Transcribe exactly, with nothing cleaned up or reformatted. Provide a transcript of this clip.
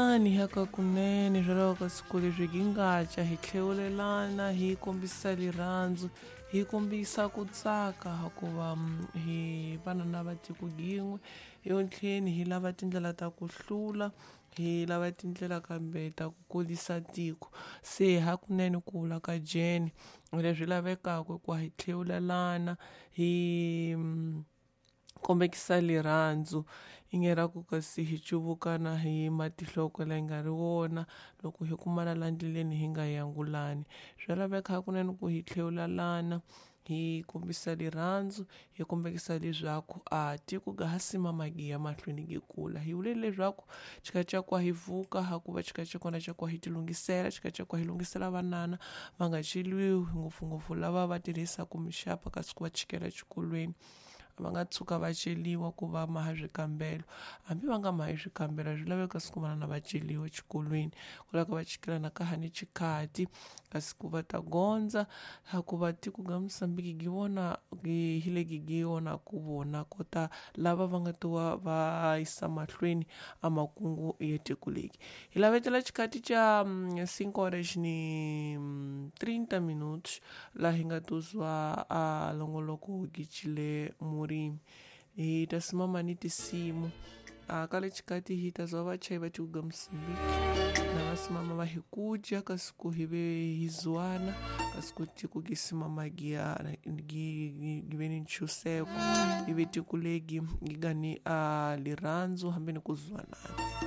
Ni haka kunene hikwalaho ka siku leswi hi nga dya hi tlhewulelana hi kombisa rirhandzu hi kombisa ku tsaka hikuva hi vana na va tiko yin'we etlheni hi lava tindlela ta ku hlula hi lava tindlela kambe ta ku kurisa tiko se hakunene ku vula ka Jane leswi lavekaka ku hi tlhewulelana hi kombekisa rirhandzu i nge ra ku kasi hi cuvukana hi matihloko leyi nga ri wona loko hi kumana la ndleleni hi nga yangulani swa laveka hakunene ku hi tlhewulelana hi kombisa rirhandzu hi kombekisa leswaku a tiko ga ha simama gi ya mahlweni gi kula hi vule leswaku xikatshakwa hi vuka hakuva xikatshakwana xa ku hi ti lunghisela xikatshakwa hi lunghisela vanana va nga cheliwi ngopfungopfu lava va tirhisaka mixapa kasi ku va chikela exikolweni va nga tshuka va celiwa ku va maha swikambelo hambi va nga mahi swikambelo swi laveka siku vanana va celiwa exikolweni ku lava va chikelana ka ha ni xikhati kasi ku va ta gondza hikuva tiko ga Mozambique gi vona hi le gi vona ku vona kota lava va nga to va yisa mahlweni a makungu ya tiko leri hi lavetela xikati xa cinco horas ni trinta minutos laha hi nga to zwa a longoloko gicile murimi hi ta simama ni tinsimu a ka le xikati hi ta zwa vachayi va tiko ga Mozambique na va simama va hi kudya kasi ku hi ve hi zwana kasi ku tiko gi simama gi ya gi gi ve ni ntshunxeko ivi tiko legi gi nga ni a rirhandzu hambi ni ku zwanana.